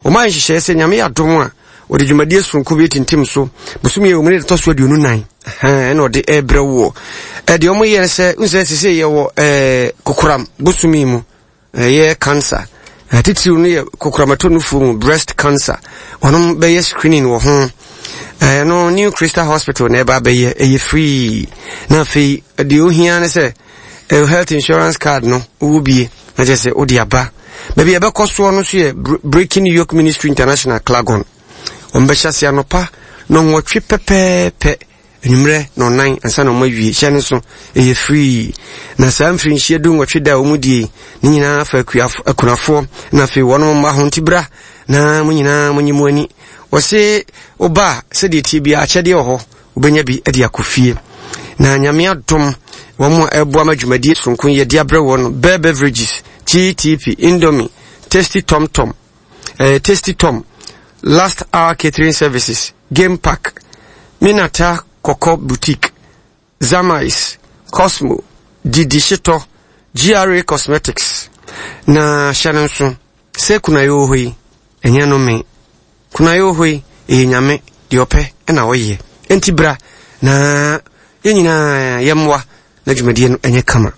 Wɔayɛ nhyehyɛeɛ sɛ Nyame yɛ adom a, wɔde dwumadie soronko bi atintim so bosome yɛ wɔn ne ɛtɔ so 24 ɛna ɔde ɛrebrɛ woɔ. Ɛdeɛ wɔn yɛ sɛ nsɛ sese yɛwɔ ɛɛ kokoram bosome mu ɛyɛ cancer titiriw no yɛ kokoram ɛtɔ nufoɔ mu breast cancer wɔn bɛyɛ screening wɔ ho ɛno New Crystal Hospital na ɛba abɛyɛ ɛyɛ free na afei deɛ ohia ne sɛ health insurance card no wowɔ bie na kyerɛ sɛ wode aba baabi a ɛbɛkɔ soɔ no nso yɛ Breaking Yoke Ministry International Clagon wɔn bɛhyɛ ase anɔpa nɔnwɔtwe pɛpɛɛpɛ anwummerɛ na ɔnan ansa na wɔn awie hyɛ no nso ɛyɛ free na saa mfirinhyia 18 da a wɔn die ne nyinaa fa akunafoɔ na afei wɔn mma ho nti bra na mo nyinaa mo nye mo ani wɔse woba a sɛdeɛ tie biara akyɛdeɛ wɔ hɔ wobɛnya bi de akɔ fie. Na Nyame adom, wɔn a ɛboa ma dwumadie soronko yi yɛde abrɛ wɔn no, Bear Beverages, GTP, Indomie, Tasty Tom Tom, eh, Tasty Tom, Last Hour Catering Services, Game Park, Minata Kɔkɔ Boutique, Zamais, Cosmo, Didi Shitɔ, GRA Cosmetics. Na hyɛ no nso, sɛ kunayɛ wɔ hɔ yi, ɛnyɛ no me. Kunayɛ wɔ hɔ yi, ɛyɛ Nyame, deɛ ɔpɛ na ɔyɛ. Enti bra na yɛn nyinaa yɛmmoa na dwumadie no ɛnyɛ kama.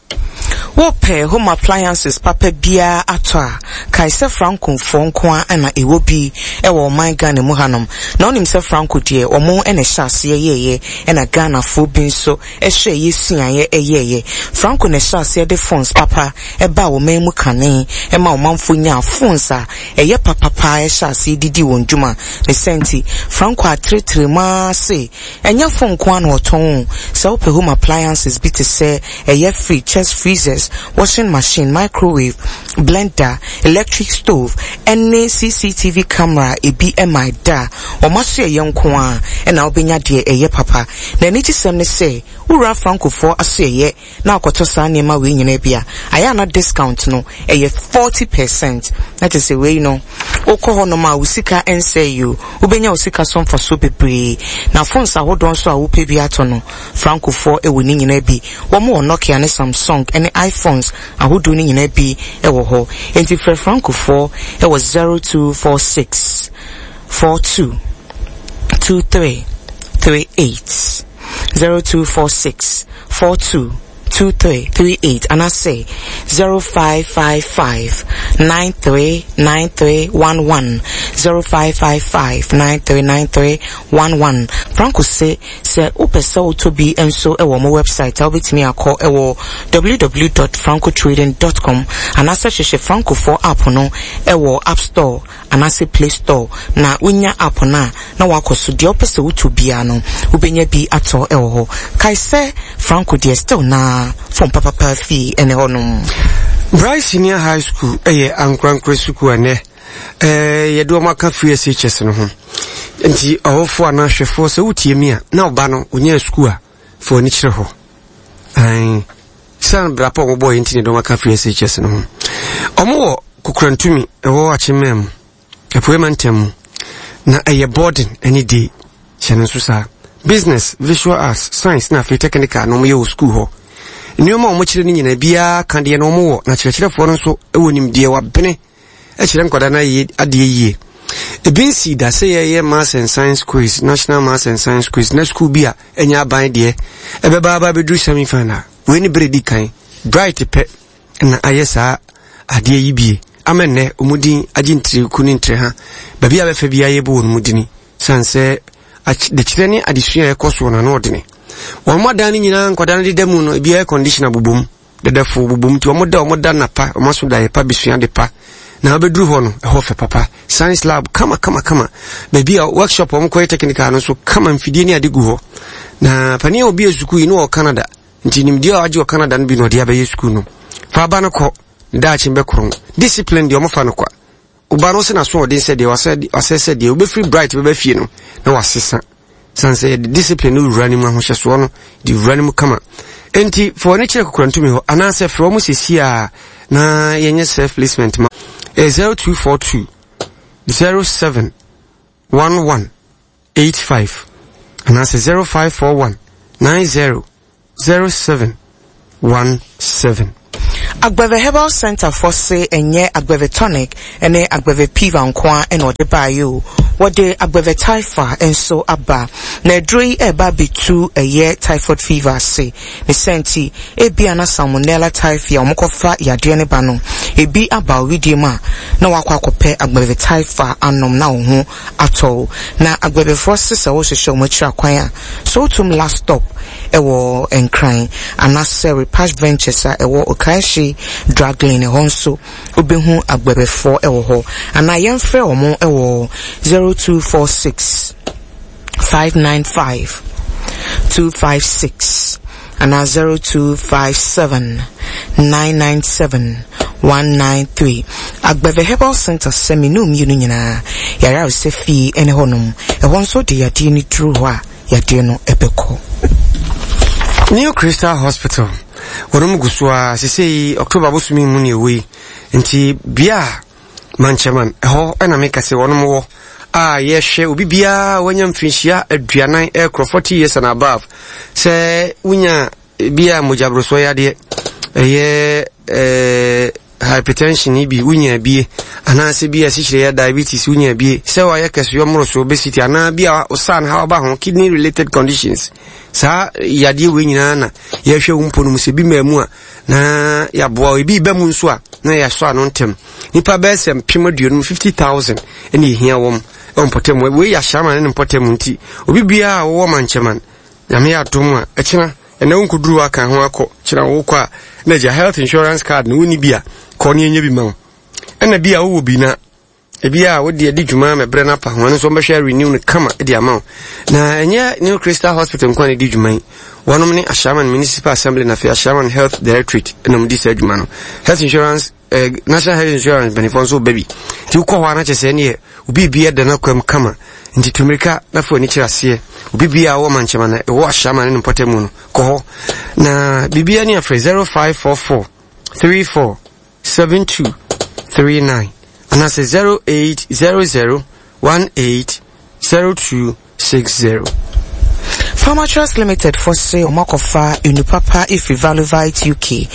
Wopɛ home appliances papa biara atɔ a, kae sɛ Francofoɔ nko ara na ɛwɔ bi wɔ ɔman Ghana mu hanom. Na wonim sɛ Franco deɛ, wɔn na ɛhyɛ aseɛ yɛeɛ, ɛna Ghanafoɔ bi nso hwɛeɛ suaeɛ yɛeɛ. Franco na ɛhyɛɛ aseɛ de phones papa baa ɔman mu kane, ɛma ɔmanfoɔ nyaa phones a ɛyɛ papa paa hyɛ aseɛ didi wɔn dwuma. Ne saa nti, Franco atrɛtrɛ mu ara se, ɛnyɛ phone nko ara na ɔtɔn o, sɛ wopɛ home appliances bi te sɛ ɛyɛ fridge, chest freezers, washing machine, microwave, blender, electric stove, ɛne CCTV camera a ebi mmae da a, wɔn asoɛeɛ nko ara na wobɛnya deɛ ɛyɛ papa. Na anigyesɛm ne sɛ, wowura Francofoɔ asoɛeɛ na akɔtɔ saa nneɛma wei nyinaa bi a, ayɛ a na discount no ɛyɛ 40%. Na kyerɛ sɛ wei no, wokɔ hɔnom a wo sika nsɛe o, wobɛnya wo sika so mfasoɔ bebree. Na phones ahodoɔ nso a wopɛ bi atɔ no, Francofoɔ wɔ ne nyinaa bi. Wɔn wɔ Nokia ne Samsung ne iPhones ahodoɔ no nyinaa bi wɔ hɔ. Enti frɛ Francofoɔ wɔ 0246 42 23 38. 0246 42 2338 anaasɛ 0555 939311 0555 939311 Franco se sɛ wopɛ sɛ wotɔ bi nso wɔ mo website a wobɛtumi akɔ wɔ www.francotrading.com anaasɛ hwehwɛ Francofoɔ app no wɔ App Store anaasɛ Play Store na wonya app no a, na woakɔ so. Deɛ wopɛ sɛ wotɔ biara no, wobɛnya bi atɔ wɔ hɔ. Kae sɛ Franco deɛ still na phone papapa fie ne hɔnom. Bright Senior High School yɛ ankorankorɛ sukuu a nnɛ yɛde wɔn aka free SHS no ho. Nti ɔwofoɔ anaa ahwɛfoɔ sɛ wotie mi a na ɔba no ɔnyaa sukuu a fa w'ani kyerɛ hɔ. Ae. Siane bra pa a wɔbɔɔ yɛ nti na yɛde wɔn aka free SHS no ho. Wɔn wɔ Kokorantumi ɛwɔ Akyemmaa mu, Apuei Mantam mu. Na ɛyɛ boarding ɛne day. Hyɛ no nso saa. Business, Visual Arts, Science na afei Technical na wɔyɛ wɔ sukuu hɔ. Nneɛma a wɔkyerɛ no nyinaa biara ka deɛ na wɔwɔ na kyerɛkyerɛfoɔ no nso wɔ nimdeɛ wabene kyerɛ nkwadaa no ayɛ adeɛ yie. Ebi nsii da sɛ yɛyɛ Maths and Science quiz, National Maths and Science quiz, na sukuu bi a ɛnyɛ aban deɛ ɛbɛba aba abɛduru semi final. Wei ne berɛ di kan. Bright pɛ na ayɛ saa adeɛ yi bie. Ama nnɛ wɔn din agye ntireku ne ntireha. Baabi a bɛfa biara yɛbɔ wɔn mu dini. Sane sɛ adekyerɛ ne adesua a ɛkɔ soɔ no ano ɔdene. Wɔn adan no nyinaa nkwadaa no deda mu no ebi air conditioner bobom. Dɛdɛfo bobom nti wɔn da wɔn da napa wɔn aso da yɛ pa besua ade pa na wobɛduru hɔ no ɛhɔ fɛ papa science lab kama kama kama baabi a workshop wɔn kɔyɛ technical no nso kama mfidie ne ade gu hɔ na panin a obi yɛ sukuu yi no wɔ Canada nti nimdeɛ a wagye wɔ Canada no bi na ɔde abɛyɛ sukuu no fa aba no kɔ ne daakye bɛkorɔn discipline deɛ wɔfa no kwa Wo no sɛ n'asoɔden sɛ deɛ wasɛ sɛ deɛ wobɛfiri bright bɛba fie no na wasesa sane sɛ yɛde discipline no wura no mu ahohyɛsoɔ no de wura no mu kama enti fa w'ani kyerɛ kokorantumi hɔ anaasɛ frɛ wɔn sɛsi a na yɛnyɛ self placement ma 0242 07 11 85 anaasɛ 0541 90 07 17. Agbeve Herbal Centre foɔ se ɛnyɛ Agbeve Tonic ne Agbeve Piva nko ara na wɔde baeɛ o, wɔde Agbeve Typha nso aba. Na aduro yi reba abɛtu ɛyɛ typhoid fever ase. Ne saa nti, ebia na Salmonella typhi a wɔkɔfa yadeɛ no ba no, ebi aba wo wedeɛ mu a, na woakɔ akɔpɛ Agbeve Typha anom na wo ho atɔ wo. Na Agbebefoɔ se sɛ wohwehwɛ wɔn akyiri akwan a, Sowutuom last stop wɔ Nkran anaasɛ Repash Ventures a ɛwɔ Okaehye Drug Lane ɛhɔ nso wobɛhu Agbebefoɔ wɔ hɔ. Anaa yɛmfrɛ wɔn wɔ 0246 595 256 anaa 0257 997 193. Agbeve Herbal Centre sɛ me ne wo mmienu nyinaa yare aresɛ fie ne hɔnom. Ɛhɔ nso wode yadeɛ no duru hɔ a, yadeɛ no bɛkɔ. New Crystal Hospital, wɔnom gu so ara, sesei October bosome mu ne ɛwɔ yi, nti bea a Mankyɛman, ɛhɔ na meka sɛ wɔnom wɔ a yɛhwɛ obi biara wanya mfinhyia aduanan ɛkorɔ 40 years and above sɛ wonya bi a mogyaborosoɔ yadeɛ ɛyɛ ɛɛ hypertension yi bi wonya bie anaasɛ bi a asikyire yɛ diabetes wonya bie sɛ wayɛ kɛseyɔ mmoroso obesity anaa bi a ɔsan ha ɔba ho kidney related conditions saa yadeɛ wei nyinaa na yɛhwɛ wo mpo no mu sɛ bi maa mu a na yɛaboa ebi ba mu nso a na yɛasɔ ano ntɛm nipa bɛyɛ sɛ mpem aduonum 50000 ɛna ehia wɔm ɛwɔ mpɔtam wei yɛ ahyɛaman ne ne mpɔtam nti obi biara a wɔwɔ mankyɛman nyame yɛ adom a ɛkyena ɛnɛ wonkɔduru aka ho akɔ kyena wokɔ a na agya health insurance card no wonni bi a kɔ ne ɛnyɛ bi ma wo ɛna bi a wowɔ bi na ebi a wode adi dwuma ma berɛ no apa ho ɛno nso wɔbɛhwɛ renew no kama de ama wo na ɛnyɛ New Crystal Hospital nko a na ɛdi dwuma yi wɔnom ne Ashaiman Municipal Assembly na afei Ashaiman Health Directorate na wɔdi saa adwuma no health insurance eh, National Health Insurance mpanimfoɔ nso ba bi nti wokɔ hɔ a na kyerɛ sɛ ɛneɛ obi bi ɛda no akwam kama nti tu mmirika na fa w'ani kyerɛ aseɛ obi bi a wɔ mankyɛma na ɛwɔ Ashaiman ne ne mpɔtam no kɔ hɔ na biribiara ne afrɛ 0544 34 7239 anaasɛ 0800 18 0260. Pharmatrust Limited fo se wɔn akɔfa enu papa efiri Valuvite UK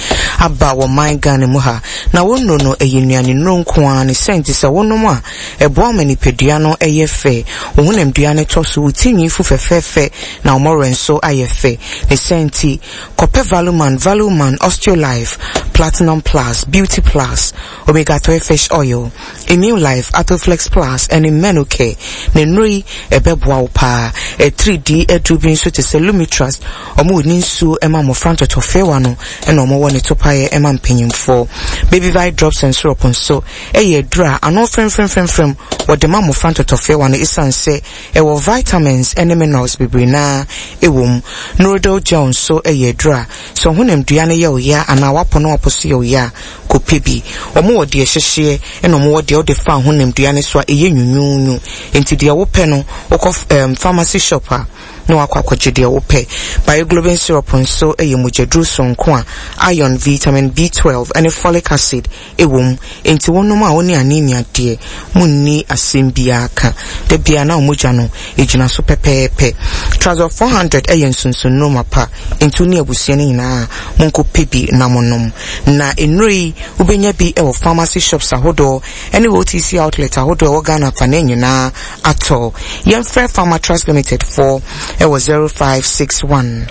aba wɔ man Ghana mu ha. Na wɔn nnuro no ɛyɛ nnuane nnuro nko ara ne sɛ nti sɛ wonom a ɛboa ma nipadua no ɛyɛ fɛ, wo honamdua no tɔ so, wo ti nwi fu fɛfɛɛfɛ na wo mmɔwerɛ nso ayɛ fɛ. Ne sɛ nti Kɔpɛ Valuman, Valuman, Osteolife, Platinum Plus, Beauty Plus, Omega 3 Fish Oil, Immune Life, Athoflex Plus, ɛne Menocare. Na nnuro yi, ɛbɛboa wo paa. Atiridii aduro bi nso te sɛ Lumitrust, wɔn wɔ ne nsuo ma mmɔfra ntɔtɔfewa no, ɛna wɔn wɔ ne topaeɛ ma mpanyinfoɔ. Baby Vite Drops and Syrup nso yɛ aduro a ano fremfremfremfrem wɔde ma mmɔfra ntɔtɔfewa no esiane sɛ Ɛwɔ vitamins ne minerals bebree no ara wɔ mu. Norodil gel nso yɛ aduru a sɛ wo honamdua no yɛ wo ya anaa w'aponoapo so yɛ wo ya a, kɔpɛ bi. Wɔwɔ deɛ ɛhyehyeɛ ɛna wɔwɔ deɛ wode fa wo honamdua no so a ɛyɛ nwunwuunwu. Enti deɛ wopɛ no, wokɔ pharmacy shop a na woakɔ akɔgye deɛ wopɛ. Bioglobin syrup nso yɛ mogyaduro sononko a iron, vitamin B12 ne folic acid Ɛwom, enti wonom a wo ne anemia deɛ, monni asɛm biara ka. Da biara na wo mogya no gyina so pɛpɛɛpɛ. Trazol 400 yɛ nsonsonnuro mapa, enti wo ne abusua no nyinaa monkɔpɛ bi na monom. Na nnuro yi, wobɛnya bi wɔ pharmacy shops ahodoɔ ne OTC outlet ahodoɔ a ɛwɔ Ghana afanan nyinaa atɔ. Yɛmfrɛ Pharmatrust Limited foɔ wɔ 0561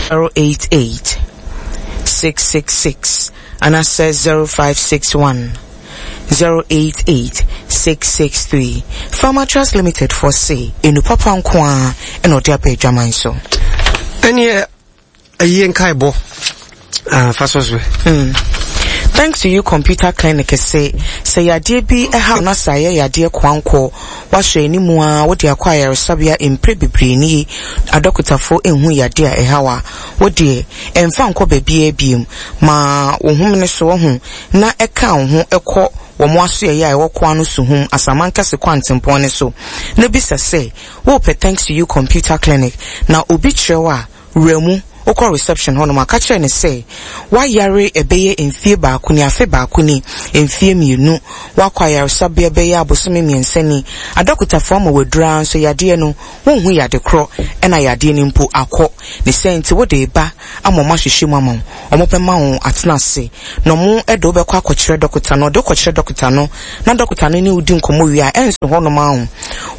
088 666. Anaasɛ 0561 088 663. Pharmatrust Limited foɔ se enu papa nko ara na ɔde aba adwaman so. Ɛneɛ ayie nkaebɔ ah, fa sɔ so. Thanks to you Computer Clinic se sɛ yadeɛ bi ɛha na sɛ ayɛ yadeɛ koankoɔ woahwɛ anim a wode akɔ ayaresabea mprɛ bebree nie adɔkotafoɔ nhu yadeɛ a ɛha wo a Wo deɛ, ɛmfa nkɔ baabiara bio. Ma wo homene so, wahu, na ɛka wo ho kɔ wɔn asoɛeɛ a ɛwɔ Koano Suhum, Asamankɛse kwantempɔn no so, na bisa sɛ, Worepɛ Thanks to You Computer Clinic? Na obi kyerɛ wo a, wura mu. Wokɔ reception hɔnom a, ka kyerɛ no sɛ woayare ɛbɛyɛ mfie baako ni, afe baako ni, mfie mmienu, woakɔ ayaresabea bɛyɛ abosome mmiɛnsa ni, adɔkotafoɔ ama wo aduru ara nso yadeɛ no, wonhu yade korɔ ɛna yadeɛ no mpo akɔ. Ne saa nti wode reba ama wɔahwehwɛ mu ama wo, wɔbɛma wo atena ase na wɔde wo bɛkɔ akɔkyerɛ dɔkota no. Wɔde wo kɔkyerɛ dɔkota no na dɔkota no ne wo di nkɔmmɔ wie a, ɛnso hɔnom ara o,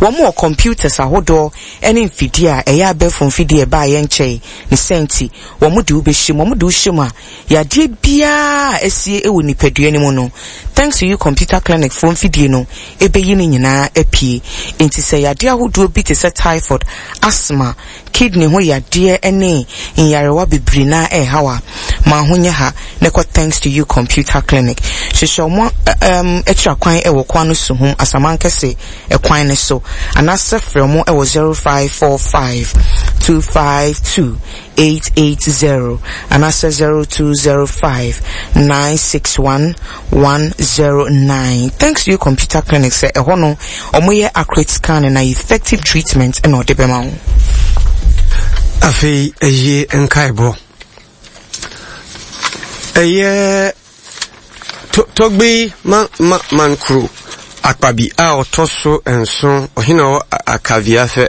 wɔwɔ computers ahodoɔ ne mfidie a ɛyɛ abɛɛfo mfidie a ɛbaeɛ nkyɛe, ne saa nti wɔde wo bɛhyɛ mu. Wɔde wo hyɛ mu a, yadeɛ biara a asie wɔ nipadua no mu no, Thanks to You Computer Clinic foɔ mfidie no bɛyi ne nyinaa apue. Enti sɛ yadeɛ ahodoɔ bi te sɛ typhoid, asthma, kidney ho yadeɛ ne nyarewa bebree no ara ɛrehaw a, ma ho nyɛ ha na kɔ Thanks to You Computer Clinic. Hyehyɛ wɔn um, akyira kwan wɔ Kwano Suhum, Asamankɛse kwan no so, anaasɛ frɛ wɔn wɔ 0545 252 880 anaasɛ 0205 961 109. Thanks to You Computer Clinic sɛ ɛhɔ no wɔyɛ accurate scanning na effective treatment na ɔde bɛma wo. Afei ɛyie nkaebɔ. Ɛyɛ Togbe ma ma Mankuro Akpabi a ɔtɔ so nson, ɔhene a ɔwɔ Akaviafɛ,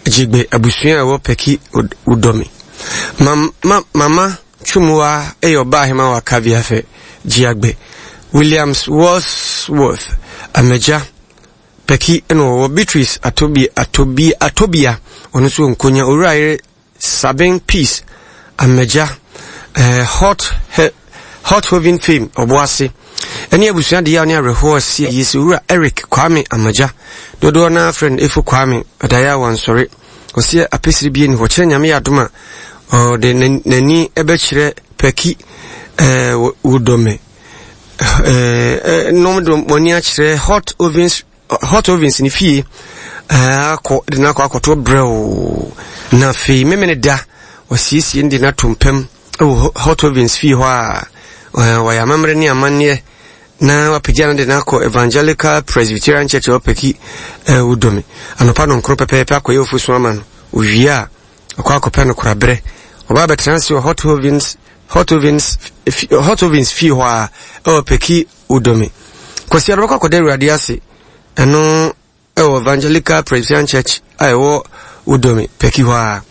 Gyegbe abusua a ɛwɔ Peki Wudome. Ma ma Mama Twumua yɛ ɔbaa ahema wɔ Akaviafɛ, Gyiagbe. Williams Wordsworth Amagya, Peki na ɔwɔ Beatrice Atobia Atobia Atobia, ɔno nso wɔ Nkonya. Owura yere Sabin Peace Amagya, eh, Hot he, Hot Hoven Fame Ɔboase, ɛne abusua de yaw ne awerɛhoɔ asi ayie sɛ Owura Eric Kwame Amagya, dodoɔ no ara frɛ no Efo Kwame, ɔdaeɛ a wansɔre. Ɔseɛ apɛsire bie ni hɔ, kyerɛ Nyame yɛ adom a ɔde n'ani bɛkyerɛ Pɛki eh, Wodome eh, eh, nom de wɔn ani akyerɛ Hot Ovens Hot Ovens ne fie akɔ de no akɔ akɔto brɛoo na afei memene da wɔasiesie no de no ato mpam wɔ Hot Ovens fie hɔ a wɔyɛ amammerɛ ne amanneɛ na wapagya no de no akɔ Evangelical Presbyterian Church wɔ Peki Wudome anɔpa nɔnkron pɛpɛɛpɛ akɔyɛ ofosu ama no owie a ɔkɔ akɔpɛ no koraberɛ ɔba abɛtena ase wɔ Hot Ovens Hot Ovens Hot Ovens fie hɔ a ɛwɔ Peki Wodɔ me. Kwasi Addo bɛkɔ akɔda Awurade ase. Ɛno ɛwɔ Evangelical Presbyterian Church a ɛwɔ Wodome, Pɛki hɔ ara.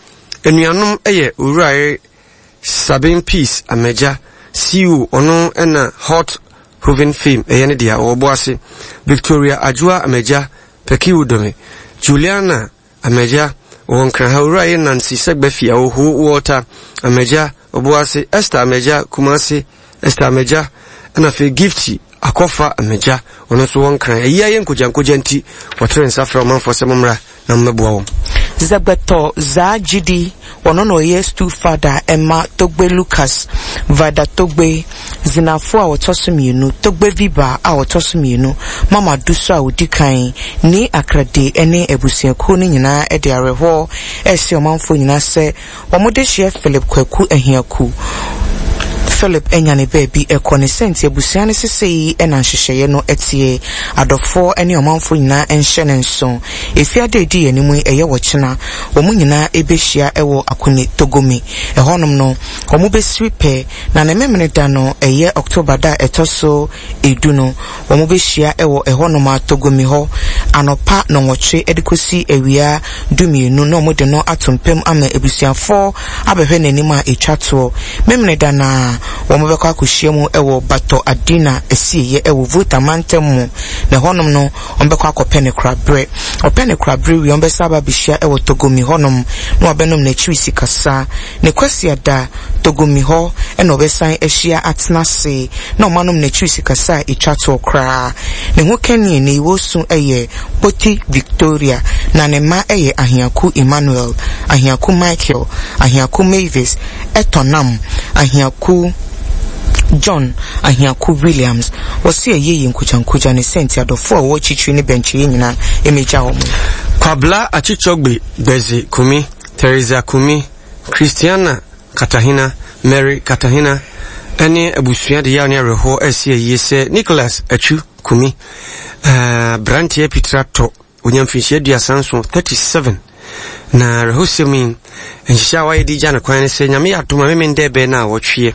Anuanom yɛ Owurayere Sabin Peace Amagya, CEO, ɔno na Hot Hoven Fame ɛyɛ ne dea, ɔwɔ Boase. Victoria Adwoa Amagya, Pɛki Wodome. Juliana Amagya, ɔwɔ Nkran ha, Owura yɛ Nancy Sɛgbɛfi, Awoho, Walter, Amagya, Ɔboase, Esther Amagya, Kumasi, Esther Amagya, ɛna afei Gifty Akɔfa Amagya, ɔno nso wɔ Nkran. Ayi ayɛ nkogyankogya nti, wɔtore nsa frɛ ɔmanfoɔ sɛ mommra na mommɛboa wɔn. Zegbetɔ Zaa Gyidi, ɔno na ɔyɛ stool father ɛma Togbe Lucas Vida Togbe, Zinafo a ɔtɔ so mmienu, Togbe Viba a ɔtɔ so mmienu, Mama Dusu a ɔdi kan, Nii Akrade ne abusuakuo no nyinaa de awerɛhoɔ rehyɛ ɔmanfoɔ nyinaa sɛ wɔn dehyeɛ Philip Kwaku Ahiaku Philip anya ne baabi kɔ ne sɛ nti abusua no sesei na nhyehyɛeɛ no teɛ. Adɔfoɔ ne ɔmanfoɔ nyinaa nhyɛ no nso. Efiada a ɛdi yɛn anim yi, ɛyɛ ɔkyena, wɔn nyinaa bɛhyia wɔ Akune Togomi. Ɛhɔnom no, wɔbɛsiri pɛ, na ne Memeneda no, ɛyɛ October da a ɛtɔ so du no, wɔbɛhyia wɔ ɛhɔnom ara, Togomi hɔ, anɔpa nnɔnwɔtwe de kɔsi awia dumienu, na wɔde no ato mpam ama abusuafoɔ abɛhwɛ n'anim a ɛtwa toɔ. Memeneda no ara, wɔbɛkɔ akɔhyia mu wɔ Batɔ Adina asieeɛ wɔ Volta mantam mu, na ɛhɔnom no, wɔbɛkɔ akɔpɛ no koraberɛ. Wɔpɛ no koraberɛ wie a, wɔbɛsan aba abɛhyia wɔ Togomi hɔnom na wɔabɛnom n'akyiri sikasa. Ne Kwasiada, Togomi hɔ na wɔbɛsan ahyia atena ase na wɔanom n'akyiri sikasa a ɛtwa toɔ koraa. Ne ho kani ne Iwosu yɛ Kpoti Victoria, na ne mma yɛ Ahiaku Emmanuel, Ahiaku Michael, Ahiaku Mavis, Ɛtɔnam, Ahiaku John, Ahiaku Williams. Wɔse ayie yɛ nkogyankogya ne sɛ nti adɔfoɔ a wɔwɔ akyirikyiri ne bɛnkyɛeɛ nyinaa mmɛgya wɔn. Kwabla Achichogbe Gbedzi Kumi, Theresa Kumi, Christiana Katahina, Mary Katahina ne abusua de yaw ne awerɛhoɔ resi ayie sɛ Nicholas Atsu Kumi, aberanteɛ Pitra Tɔ, ɔnya mfirinhyia 37, 37. Na awerɛhosɛm yi, nhyehyɛ a wɔayɛ de gya no kwan ne sɛ Nyame yɛ adom a Memendɛ bɛyɛ naawɔtweɛ.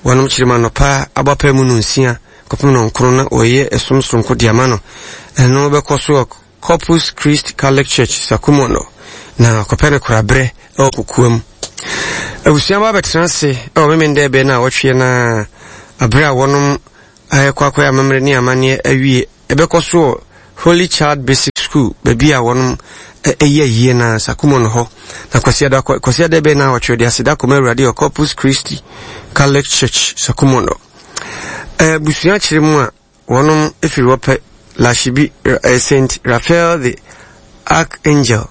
Wɔnom kyerɛ mu anɔpa abɔ mu nonsia kɔpem nɔnkron na wɔyɛ ɛsom soronko de ama no. Ɛno bɛkɔ so wɔ Corpus Christi Catholic Church, Sakumono, na ɔkɔpɛ no koraberɛ wɔ kokoam. Abusua ba bɛtena ase wɔ Memendɛ bɛyɛ naawɔtweɛ no ara berɛ a wɔnom ayɛkɔ akɔyɛ amammerɛ ne amanneɛ awie. Ɛbɛkɔ so wɔ Holy Child Basic School, baabi a wɔnom ɛyɛ ayie no ara, Sakumono hɔ. Na Kwasiada, Kwasiada bɛyɛ naawɔtwe, ɔde aseda kɔma Awurade wɔ Corpus Christi Catholic Church, Sakumono. Abusua kyerɛ mu a, wɔnom firi hɔ pɛ, Lashibi, St. Raphael the Archangel,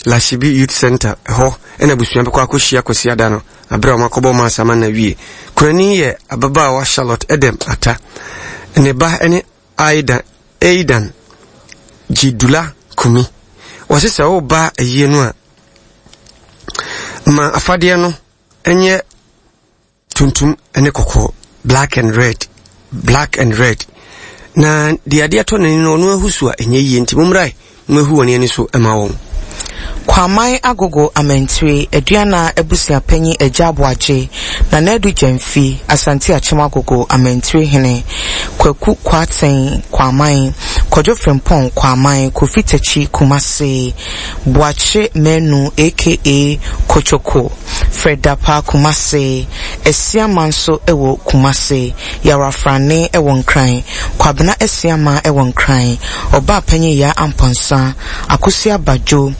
Lashibi Youth Center, hɔ ɛna abusua bɛkɔ akɔhyia Kwasiada no, abere a wɔakɔbɔ mass ama no awie. Kunani yɛ ababaawa Charlotte Edem Atta. Ne ba ne Aidan, Aidan Gyidula Kumi. Wɔse sɛ woba ayie no a, ma afadeɛ no nyɛ tuntum ne kɔkɔɔ, black and red, black and red. Na deɛ adeɛ tɔ n'ani no, ɔno ahu so a ɛnyɛ yie, nti mommrae moahu wɔn ani so ma wɔn. Kwaman Agogo Amantire, Aduana Abusuapanyin Agya Aboagye, Nana Adu Gyamfi, Asante Akyem Agogo Amantire Hene, Kwaku Kwarteng Kwaman, Kwadwo Frimpong Kwaman, Kofi Takyi Kumasi, Boakye Manu aka Kochoko, Fred Dapaah Kumasi, Asiama nso wɔ Kumasi, Yawrafrane wɔ Nkran, Kwabena Asiama wɔ Nkran, Ɔbaa Panyin Yaa Amponsah, Akosua Badwo,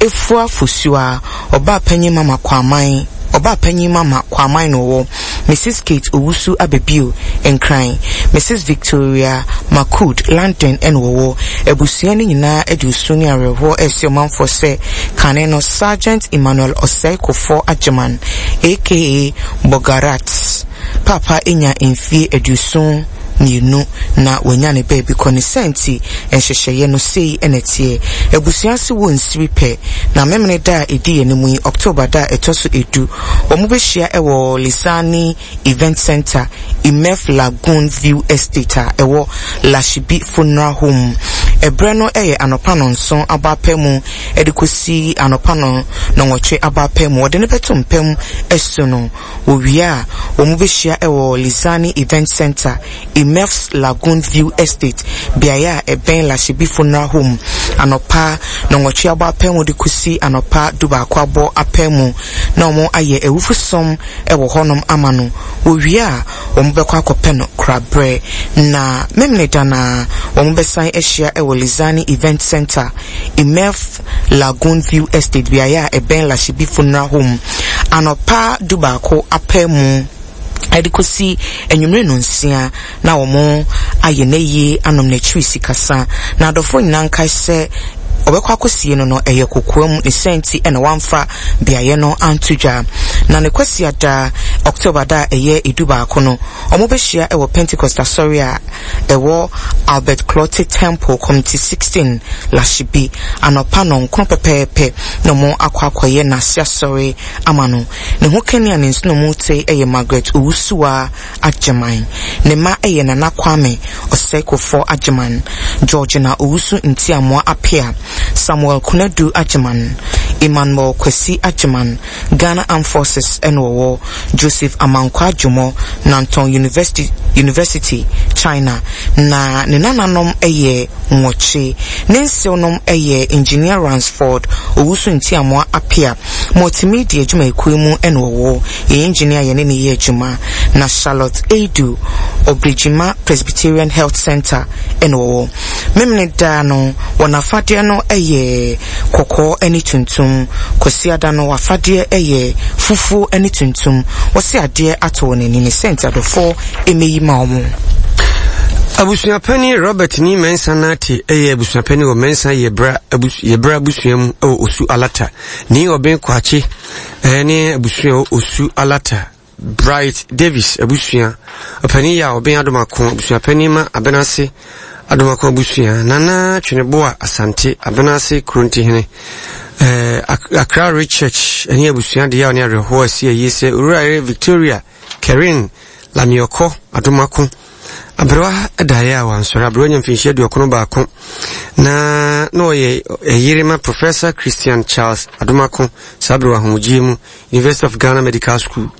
Efua Fosuaa, Ɔbaa Panyin Mama Kwaman, Ɔbaa Panyin Mama Kwaman na ɔwɔ, Mrs Kate Owusu Ababio, Nkran, Mrs Victoria Makud, London na ɔwɔ. Abusua no nyinaa de osu ne awerɛhoɔ rese ɔmanfoɔ sɛ kane no Sergeant Emmanuel Osei Kofoɔ Agyeman aka Bogarat Paapa anya mfie 72 na wanya ne baabi kɔ. Ne saa nti nhyehyɛeɛ no sei na ɛteɛ. Abusua ase wɔ nsiri pɛ na Memeneda a ɛdi yɛn anim yi, October da a ɛtɔ so edu, wɔbɛhyia wɔ Lisani Event Centre, Imef Lagoon View Estate a ɛwɔ Lashibi Funeral Home. Ɛberɛ no yɛ anɔpa nnɔnson abɔ apɛ mu de kɔsi anɔpa nnɔnwɔtwe abɔ apɛ mu. Wɔde no bɛto mpa mu asu no. Wɔwie a, wɔbɛhyia wɔ Lisani Event Centre, Imef's Lagoon View Estate, beaeɛ a ɛbɛn Lashibi Funeral Home, anɔpa nnɔnwɔtwe abɔ apɛ mu de kɔsi anɔpa dubaako abɔ apɛ mu, na wɔayɛ awufosom wɔ hɔnom ama no. Wɔwie a, wɔbɛkɔ akɔpɛ no koraberɛ. Na Memeneda no ara, wɔbɛsan ahyia wɔ Lisani Event Centre, Imef Lagoon View Estate, beaeɛ a ɛbɛn Lashibi Funeral Home, anɔpa dubaako apɛ mu de kɔsi anwummere nnɔnsia, na wɔayɛ n'ayie anom n'akyiri sikasa. Na adɔfoɔ nyinaa nkae sɛ ɔbɛkɔ akɔsie no no, ɛyɛ kokoam, ne saa nti na wamfa beaeɛ no anto dwa. Na ne Kwasiada, October da a ɛyɛ edubaako no, wɔbɛhyia wɔ Pentecost Asɔre a ɛwɔ Albert Clotte Temple, Committee 16, Lashibi, anɔpa nnɔnkron pɛpɛɛpɛ na wɔakɔ akɔyɛ n'ase asɔre ama no. Ne ho kani a ne nsonomu te yɛ Margaret Owusuaa Agyeman. Ne mma yɛ Nana Kwame Osei Kofoɔ Agyeman, Georgina Owusu Ntiamoa Appiah, Samuel Konadu Agyeman, Emmanuel Kwasi Agyeman, Ghana Armed Forces na ɔwɔ, Joseph Amankwah Dwomoh, Nantong University, University, China, na ne nananom yɛ nwɔtwe. Ne nsewnom yɛ Engineer Ransford Owusu Ntiamoa Appiah, Multimedia adwumayɛkuo mu na ɔwɔ, yɛn engineer a yɛne no yɛ adwuma, na Charlotte Aidoo, Obregyima Presbyterian Health Centre na ɔwɔ. Memeneda no, wɔn afadeɛ no yɛ kɔkɔɔ ne tuntum. Kwasiada no, w'afadeɛ yɛ fufuo ne tuntum. Wɔse adeɛ atɔ wɔn ani ne sɛ nti adɔfoɔ mmɛyi ma wɔn. Abusuapanin Robert Nii Mensah Nartey yɛ abusuapanin wɔ Mensah Yebra Yebra abusua mu wɔ Osu Alata. Nii Ɔben Kwakye ne abusua wɔ Osu Alata. Bright Davis abusua ɔpanin yɛ a ɔben Adomako abusuapanin ma Abenase Adomako abusua. Nana Tweneboa Asante Abenase Kurontihene. Eh, Accra Ridge Church ne abusua deɛ a ɔne awerɛhoɔ asi ayie sɛ Owura Victoria Kerin Lamiɔkɔ Adomako. Aberewa daeɛ a wansɔre. Aberewa nya mfinhyia 91 na na ɔyɛ ɛyere ma Professor Christian Charles Adomako saa bere wɔ ahomegyeɛ mu University of Ghana Medical School.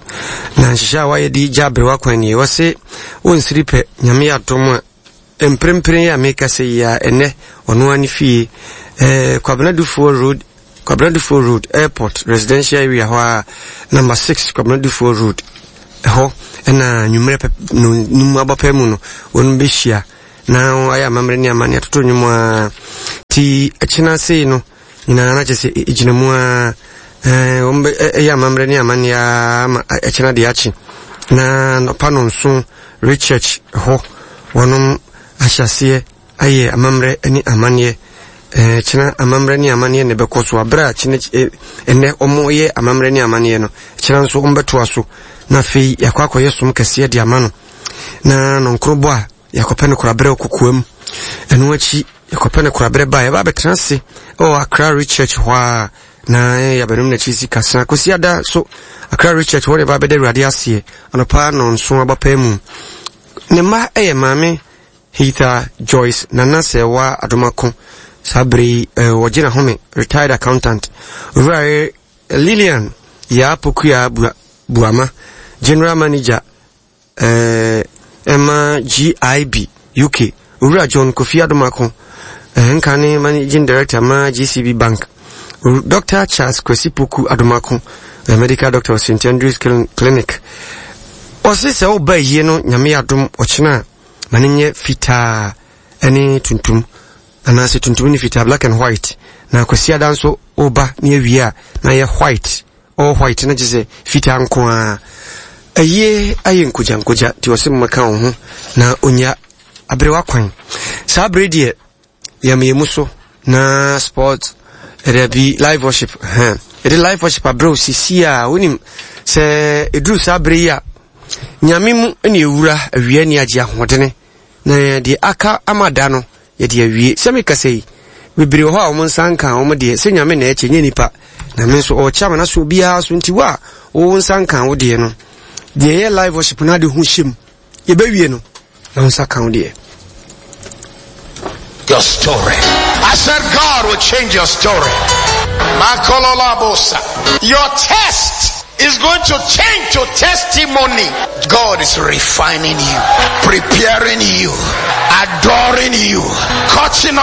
Na nhyehyɛ a wayɛ de gya aberewa kwan nie. Wɔse wɔnsiri pɛ Nyame yɛ adom a mprempren yi a mekasa yi a ɛnɛ ɔno ara ne fie eh, Kwabena Dufoɔ Road Kwabena Dufour Road, Airport Residential Area hɔ ara, Number 6 Kwabena Dufour Road, ɛhɔ na anwummerɛ pɛ no num abɔpɛ mu no wɔn bɛhyia na ayɛ amammerɛ ne amanneɛ atoto nnwom ara ti ɛkyena sei no nyinaa na kyerɛ sɛ ɛgyina mu ara wɔn bɛ ɛyɛ amammerɛ ne amanneɛ ara ma ɛkyena deɛ akye na nɔpa nonso research hɔ wɔnom ahyɛseɛ ayɛ amammerɛ ne amanneɛ. Ɛɛ, kyena amammerɛ ne amanneɛ na ɛbɛkɔ so. Abere a kyena ɛnɛ wɔyɛ amammerɛ ne amanneɛ no, kyena nso wɔbɛtoa so. Na afei yɛakɔ akɔyɛ som kɛseɛ de ama no. Na nɔnkoro bɔ a yɛakɔpɛ no koraberɛ kokoam. Ɛno akyi yɛkɔpɛ no koraberɛ ba a yɛba abɛtena ase wɔ Accra Research hɔ a na yɛabɛnom n'akyi si kasa. Kɔsi ada so Accra Research hɔ na yɛba abɛda Awurade aseɛ anɔpa nɔnson abapaa mu. Ne mma yɛ maame Heather Joyce Nana Serwaa Adomako, saa bere yi wɔgye n'ahome, retired accountant. Owura Lillian Yaa Pokuaa Buama, General Manager ɛma GIB UK. Owura John Kofi Adomako, nka ne Managing Director ma GCB Bank. Dr. Charles Kwesi Poku Adomako, medical doctor St. Andrews Clinic. Ɔse sɛ woba yie no nyame adom ɔkyena a ma no nyɛ fitaa ne tuntum anaasɛ tuntum ne fitaa black and white na kwasiada nso woba ne awie a na yɛ white all white na kyerɛ sɛ fitaa nko ara ayie ayɛ nkogya nkogya nti ɔsɛ mmɛka wo ho na onya aberewa kwan saa bere deɛ yɛmeyɛ mu so na sport dabi live worship hɛn yɛde live worship abrɛ sisi a wonim sɛ ɛduru saa bere yi a nyame mu ne ewura awia ni agye ahoɔdene na deɛ aka ama da no yɛde awie sɛ mekasa yi bebree wɔ hɔ a wɔn nsa nka wɔn deɛ sɛ nyame na ɛkyɛ nyɛ nipa na me nso ɔkyɛ ama n'aso obiara so nti wo a wo nsa nka wo deɛ no deɛ ɛyɛ live worship no ade ho hyɛ mu yɛbɛwie no na wo nsa ka wo deɛ Your story. I said God will change your story. Makololabosa. Your test is going to change to testimony. God is refining you, preparing you, adoring you, catching